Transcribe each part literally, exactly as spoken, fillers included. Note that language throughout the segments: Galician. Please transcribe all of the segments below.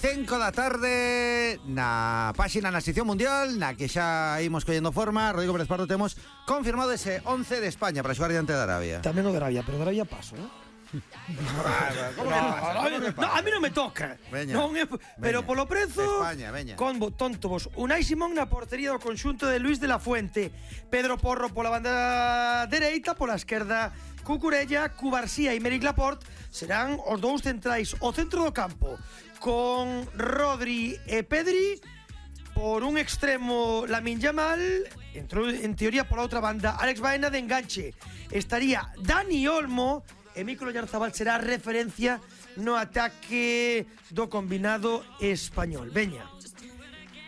cinco da tarde na páxina na sección mundial, na que xa imos collendo forma. Rodrigo Pérez Pardo, temos confirmado ese once de España para xogar diante de Arabia. Tamén o de Arabia, pero de Arabia paso, ¿no? ¿Cómo que pasa? ¿Cómo que pasa? No, a mí non me toca. Veña, non é, pero veña. polo prezo España, veña. con tonto vos. Unai Simón na portería do conxunto de Luis de la Fuente, Pedro Porro pola banda dereita, pola esquerda Cucurella, Cubarsía e Meric Laporte serán os dous centrais o centro do campo, con Rodri e Pedri. Por un extremo Lamine Yamal, entrou en teoría pola outra banda Alex Baena de enganche. Estaría Dani Olmo e Mikel Oyarzabal será referencia no ataque do combinado español. Veña.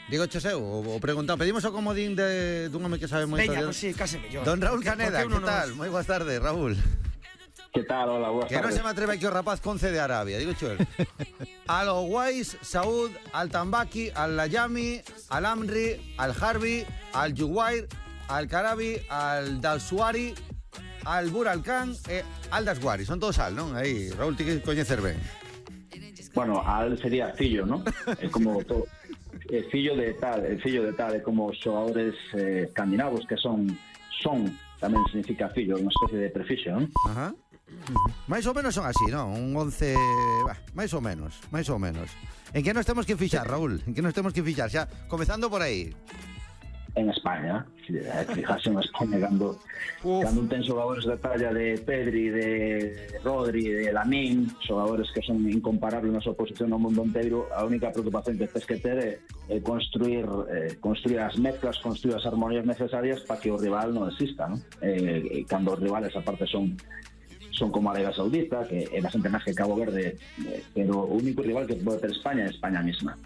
Digo choseu, o, o preguntado. Pedimos o comodín de dun home que sabe moito. Veña, pois pues sí, case mellor. Don Raúl Caneda, que tal? Nos... Moi boas tardes, Raúl. Que tal? Hola, boas tardes. Que non se me atreve aquí o rapaz conce de Arabia, digo chuel. Al Owais, Saud, al Tambaki, al Layami, al Amri, al Harbi, al Juwair, al Karabi, al Dalsuari, al Buralcán e al Dasguari. Son todos al, non? Aí, Raúl, ti que coñecer ben. Bueno, al sería fillo, ¿no? É como todo, é fillo de tal, é fillo de tal, é como os xogadores eh, escandinavos que son son, tamén significa fillo, unha especie de prefixo, non? Ajá. Mais ou menos son así, non? Un once, bah, máis ou menos, máis ou menos. En que nos temos que fixar, Raúl? En que nos temos que fixar? Xa, comezando por aí. En España, fijarse en España cando, cando ten xogadores de talla de Pedri, de Rodri, de Lamine, xogadores que son incomparables na súa posición no mundo inteiro. A única preocupación que tens que ter é, é construir, eh, construir as mezclas, construir as armonías necesarias para que o rival non exista, ¿no? Eh, cando os rivales aparte son son como Arabia Saudita, que é bastante máis que Cabo Verde, eh, pero o único rival que pode ter España é España mesma.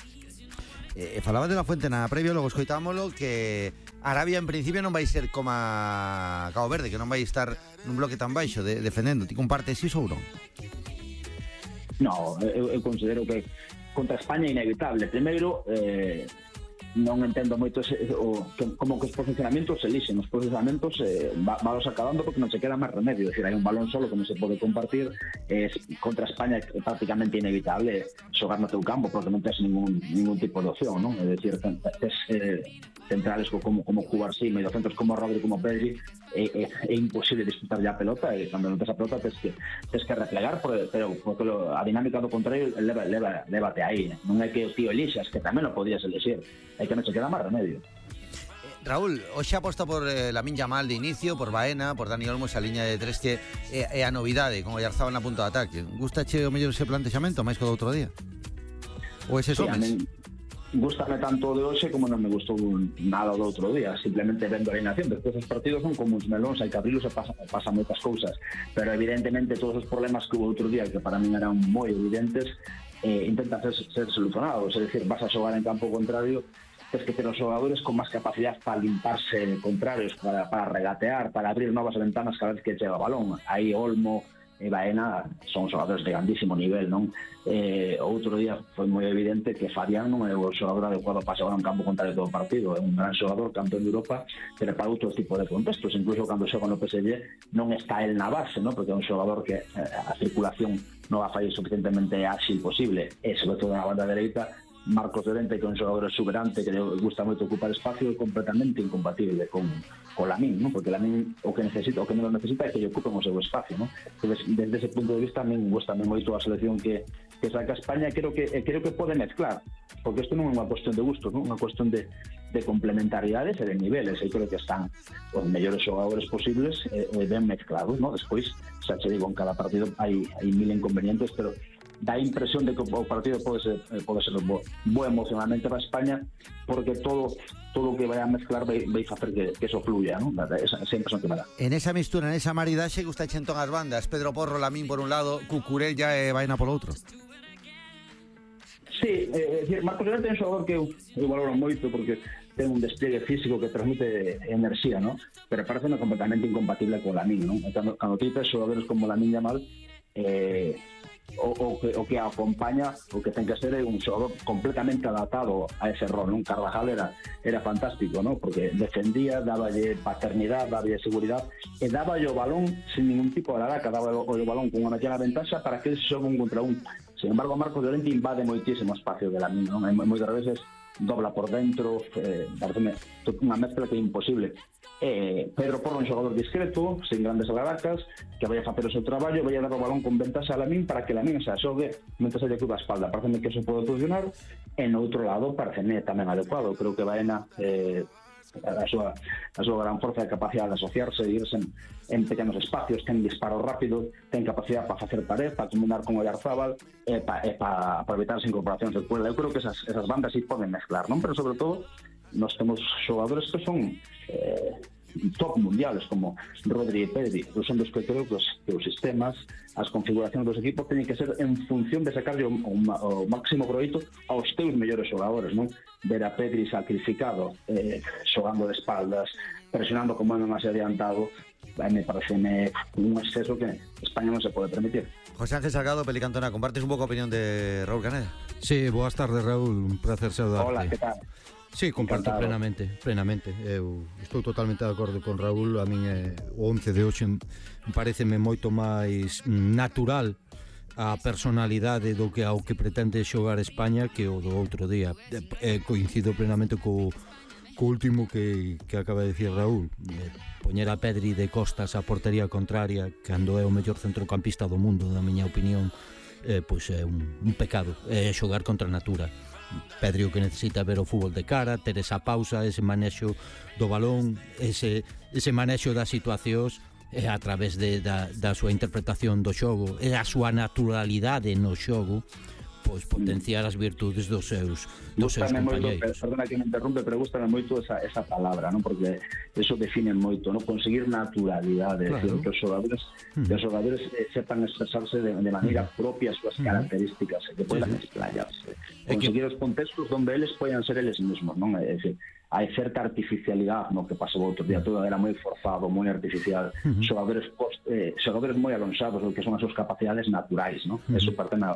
Eh, falaba de la Fuente na previa, logo escoitámoslo, que Arabia en principio non vai ser como a Cabo Verde, que non vai estar nun bloque tan baixo de, defendendo. Ti compartes iso ou non? No, eu, eu considero que contra España é inevitable. Primeiro, eh, non entendo moito ese, o, que, como que os posicionamentos se lixen. Os posicionamentos eh, va, valos acabando porque non se queda máis remedio. É dicir, hai un balón solo que non se pode compartir. Eh, contra España é prácticamente inevitable xogar no teu campo porque non tens ningún, ningún tipo de opción, non? É dicir, tens eh, centrales como, como Cubarsí, mediocentros como Rodri, como Pedri, é, é, é imposible disputar ya a pelota, e cando non tes a pelota tens que, tens que replegar, pero, pero porque lo, a dinámica do contrario leva, leva, lévate aí. Non é que o tío elixas, que tamén o podías elixir. É que non se queda máis remedio. Raúl, hoxe aposta por eh, Lamine Yamal de inicio, por Baena, por Dani Olmo, esa liña de tres que é, é a novidade, como Oyarzabal na punta de ataque. Gustache o mellor ese plantexamento máis que o do outro día? Ou ese sí, homes? Gústame tanto de hoxe como non me gustou nada do outro día, simplemente vendo a alineación. Despois os partidos son como uns melóns, hai que abrilos e pasan, pasan moitas cousas, pero evidentemente todos os problemas que hubo outro día, que para min eran moi evidentes, eh, intentan ser, ser solucionados. É dicir, vas a xogar en campo contrario, tens que ter os xogadores con máis capacidade para limparse contrarios, para, para regatear, para abrir novas ventanas cada vez que chega o balón. Aí Olmo e Baena son xogadores de grandísimo nivel, non? Eh, outro día foi moi evidente que Fabián non é o xogador adecuado para xogar en campo contrario todo o partido. É un gran xogador, campeón de Europa, pero para outro tipo de contextos. Incluso cando xoga no P S G non está el na base, non? Porque é un xogador que eh, a circulación non va a fallar suficientemente ágil posible, e sobre todo na banda dereita Marcos Llorente, que é un xogador exuberante que le gusta moito ocupar espacio, é completamente incompatible con, con Lamine, ¿no? Porque Lamine o que necesita, o que non necesita é que lle ocupen o seu espacio, ¿no? Entonces, desde ese punto de vista, a min gusta moito a selección que, que saca España. Creo que, creo que pode mezclar, porque isto non é unha cuestión de gusto, ¿no? Unha cuestión de, de complementariedades e de niveles, e creo que están os mellores xogadores posibles e, e ben mezclados, ¿no? Despois, xa che digo, en cada partido hai, hai mil inconvenientes, pero dá impresión de que o partido pode ser, pode ser bo, bo emocionalmente para España, porque todo todo o que vai a mezclar vai, vai facer que, que eso fluya, ¿no? Esa, esa impresión que me dá. En esa mistura, en esa maridaxe, gusta xentón as bandas, Pedro Porro, Lamine por un lado, Cucurella e Baena por outro. Sí, é dicir, Marcos Llorente é un xogador que eu, eu valoro moito porque ten un despliegue físico que transmite enerxía, ¿no? Pero parece completamente incompatible con Lamine, ¿no? Cando, cando tites xogadores como Lamine Yamal, eh, o, o, que, o que acompaña, o que ten que ser é un xogador completamente adaptado a ese rol, non? Carvajal era, era fantástico, ¿no? Porque defendía, dáballe paternidade, dáballe seguridade e dáballe o balón sin ningún tipo de araca, dáballe o balón con unha pequena ventaxa para que eles xogan un contra un Sin embargo, Marcos Llorente invade moitísimo espacio de Lamine, non? E moitas veces dobla por dentro, eh, pareceme unha mezcla que é imposible. Eh, Pedro Porro é un xogador discreto, sin grandes algaracas, que vai a facer o seu traballo, vai a dar o balón con ventaxa a Lamine para que Lamine se asogue mentre se lle cuba a espalda. Pareceme que eso pode funcionar. E no outro lado, pareceme tamén adecuado. Creo que Baena eh, a súa, a súa gran forza e capacidade de asociarse, de irse en, en pequenos espacios, ten disparo rápido, ten capacidade para facer pared, para combinar con o Oyarzábal e para pa, pa evitar as incorporacións de Puebla. Eu creo que esas, esas bandas sí poden mezclar, non? Pero sobre todo nós temos xogadores que son eh, top mundiales como Rodri e Pedri. Son dos que creo que os, que os sistemas, as configuracións dos equipos teñen que ser en función de sacarlle o, o, o máximo proveito aos teus mellores xogadores, non? Ver a Pedri sacrificado, eh, xogando de espaldas, presionando como non máis adiantado, me parece un exceso que España non se pode permitir. José Ángel Salgado, Pelicantona, ¿compartes un poco opinión de Raúl Caneda? Sí, boas tardes, Raúl, un placer saudarte. Hola, que tal? Sí, comparto Encantado. plenamente, plenamente. Eu estou totalmente de acordo con Raúl. A min é, o once de hoxe pareceme moito máis natural a personalidade do que ao que pretende xogar España que o do outro día. E, coincido plenamente co, co último que, que acaba de dicir Raúl. Poñer a Pedri de costas á portería contraria cando é o mellor centrocampista do mundo, na miña opinión, eh, pois é un, un pecado. É xogar contra a natura. Pedri o que necesita ver o fútbol de cara, ter esa pausa, ese manexo do balón, ese, ese manexo das situacións e a través de, da, da súa interpretación do xogo e a súa naturalidade no xogo, pois potenciar as virtudes dos seus dos seus compañeiros. Perdona que me interrumpe, pero gustame moito esa, esa palabra, ¿no? Porque eso define moito, ¿no? Conseguir naturalidade, claro. Decir, que os xogadores, mm. que os xogadores eh, sepan expresarse de, de maneira mm. propia as súas mm. características, e que poidan sí, sí. explayarse. Conseguir que... os contextos onde eles poidan ser eles mesmos, non? É dicir, hai certa artificialidade no que pasou outro día, todo era moi forzado, moi artificial, uh-huh. xogadores post, eh, xogadores moi alonsados, que son as súas capacidades naturais, ¿no? Uh-huh. Eso parte na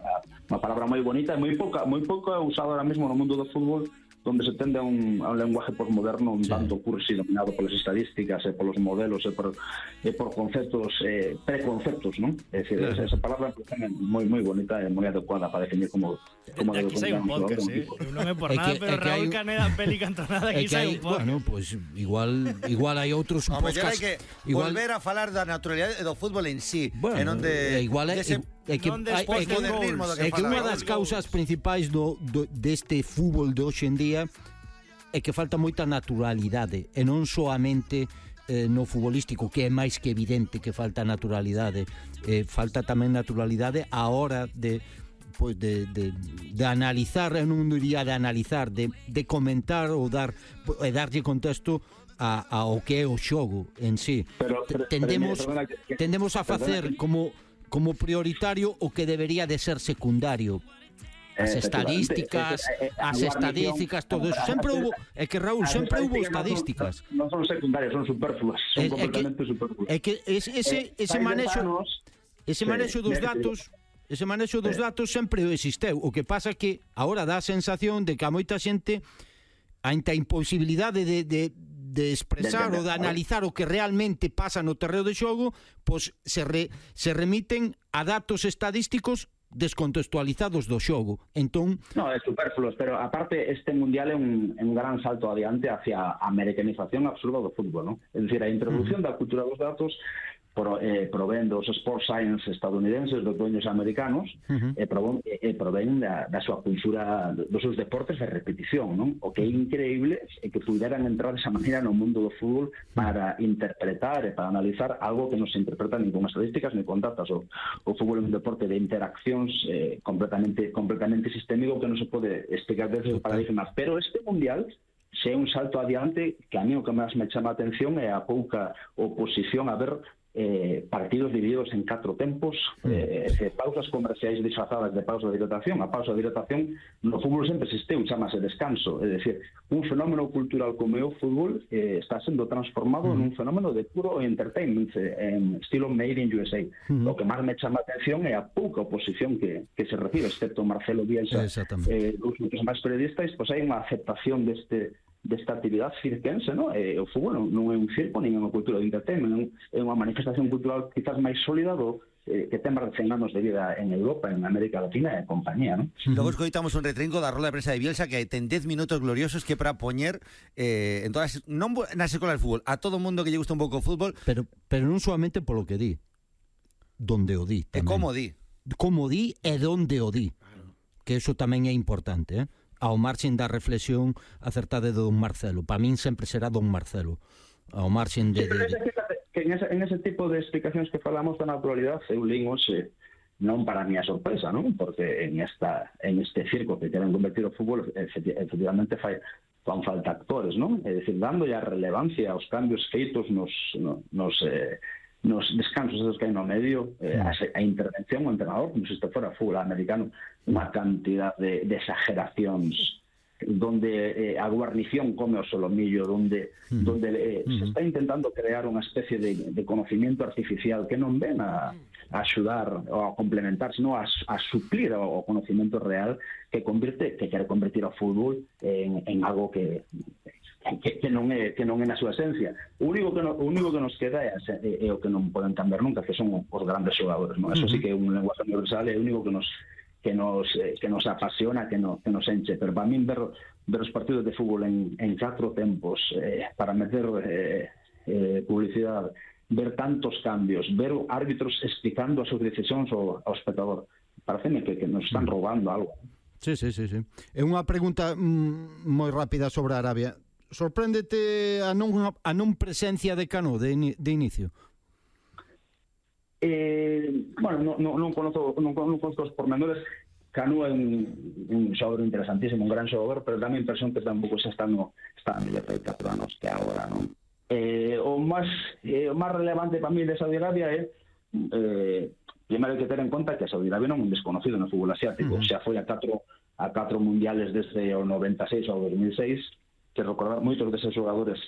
unha palabra moi bonita e moi pouca, moi pouco usada ahora mesmo no mundo do fútbol, donde se tende a un, a un lenguaje postmoderno un sí. tanto cursi, dominado polas estadísticas e polos modelos e por, e por conceptos, eh, preconceptos, ¿no? É dicir, claro. esa, esa palabra é moi moi bonita e moi adecuada para definir como como aquí sai un podcast, eh? Non é por nada, que, pero Raúl Caneda, Pelicantonada, aquí sai un podcast. Bueno, pois pues, igual igual hai outros no, podcasts. Hai que igual... volver a falar da naturalidade do fútbol en sí, bueno, en onde igual é ese... É que, é que, é que unha das causas principais do, do, deste fútbol de hoxe en día é que falta moita naturalidade e non soamente eh, no futbolístico, que é máis que evidente que falta naturalidade, eh, falta tamén naturalidade a hora de pois de, de, de analizar, eu non diría de analizar, de, de comentar ou dar e darlle contexto a, a o que é o xogo en sí. Pero, pero, tendemos, pero, perdona, que, tendemos a facer que... como como prioritario o que debería de ser secundario. As estadísticas, as estadísticas, todo eso. Sempre hubo, é que Raúl, sempre hubo estadísticas. Non son secundarias, son superfluas, son completamente superfluas. É que ese ese manexo ese manexo dos datos, ese manexo dos datos sempre existeu. O que pasa que agora dá a sensación de que a moita xente ante a imposibilidade de de de expresar ou de analizar o que realmente pasa no terreo de xogo, pois se, re, se remiten a datos estadísticos descontextualizados do xogo. Entón... No, é superfluo, pero aparte este mundial é un, un gran salto adiante hacia a americanización absurda do fútbol, ¿no? É dicir, a introducción uh-huh. da cultura dos datos Pro, eh, provén dos sports science estadounidenses, dos dueños americanos, uh-huh. e, provén, e provén da, da súa cultura, dos seus deportes de repetición, non? O que é increíble é que puderan entrar desa maneira no mundo do fútbol para interpretar e para analizar algo que non se interpreta nin con estadísticas nin con datos. O, o fútbol é un deporte de interaccións eh, completamente completamente sistémico que non se pode explicar desde os paradigmas, pero este mundial se é un salto adiante que a mí o que máis me chama a atención é a pouca oposición a ver Eh, partidos divididos en catro tempos, eh, eh, pausas comerciais disfrazadas de pausa de hidratación. A pausa de hidratación no fútbol sempre existe, chamase descanso, é dicir, un fenómeno cultural como é o fútbol eh, está sendo transformado mm. nun fenómeno de puro entertainment, eh, en estilo made in U S A. Mm. O que máis me chama a atención é a pouca oposición que, que se recibe, excepto Marcelo Bielsa, eh, os outros máis periodistas, pois hai unha aceptación deste desta actividade circense, ¿no? Eh, o fútbol non, non é un circo, nin é unha cultura de entertainment, é unha manifestación cultural quizás máis sólida do, eh, que ten máis de cen anos de vida en Europa, en América Latina e compañía, non? Logo escoitamos un retrinco da rola de prensa de Bielsa que ten dez minutos gloriosos que para poñer eh, en todas, non nas escolas de fútbol, a todo mundo que lle gusta un pouco o fútbol. Pero, pero non solamente polo que di, donde o di E tamén. como di. Como di e donde o di. Que eso tamén é importante, eh? Ao marxen da reflexión acertada de don Marcelo. Para min sempre será don Marcelo. Ao marxen de... de, de... Que en ese, en ese tipo de explicacións que falamos da naturalidad, eu lín hoxe, non para a miña sorpresa, non? Porque en esta en este circo que queren convertir o fútbol, efectivamente fai, fan falta actores, non? É dicir, dando a relevancia aos cambios feitos nos, nos, nos, eh, nos descansos esos que hai no medio, eh, a, a intervención do entrenador, como se isto fora fútbol americano, unha cantidad de, de exageracións donde eh, a guarnición come o solomillo, donde, uh-huh. donde eh, uh-huh. se está intentando crear unha especie de, de conocimiento artificial que non ven a, a axudar ou a complementar, sino a, a suplir o, o conocimiento real que convirte, que quere convertir o fútbol en, en algo que, que, que non é que non é na súa esencia. O único que no, o único que nos queda é, é, é o que non poden cambiar nunca, que son os grandes xogadores, non? Eso sí que é un lenguaje universal, é o único que nos que nos eh, que nos apasiona, que nos que nos enche, pero para min ver ver os partidos de fútbol en en catro tempos, eh, para meter eh, eh, publicidade, ver tantos cambios, ver árbitros explicando as súas decisións ao, ao espectador, pareceme que, que nos están roubando algo. Sí, sí, sí, sí. É unha pregunta mm, moi rápida sobre Arabia. Sorpréndete a non a non presencia de Cano de, de inicio? Eh, bueno, non, non, conozco, non, non conozco os pormenores. Canu é un, un xogador interesantísimo, un gran xogador, pero dá a impresión que tampouco xa está no está no de catro anos que agora, non? Eh, o máis eh, o máis relevante para mí de Saudi Arabia é eh, primeiro hai que ter en conta que Saudi Arabia non é un desconocido no fútbol asiático, uh-huh. xa foi a catro a catro mundiales desde o noventa e seis ao dos mil seis, que recordar moitos deses xogadores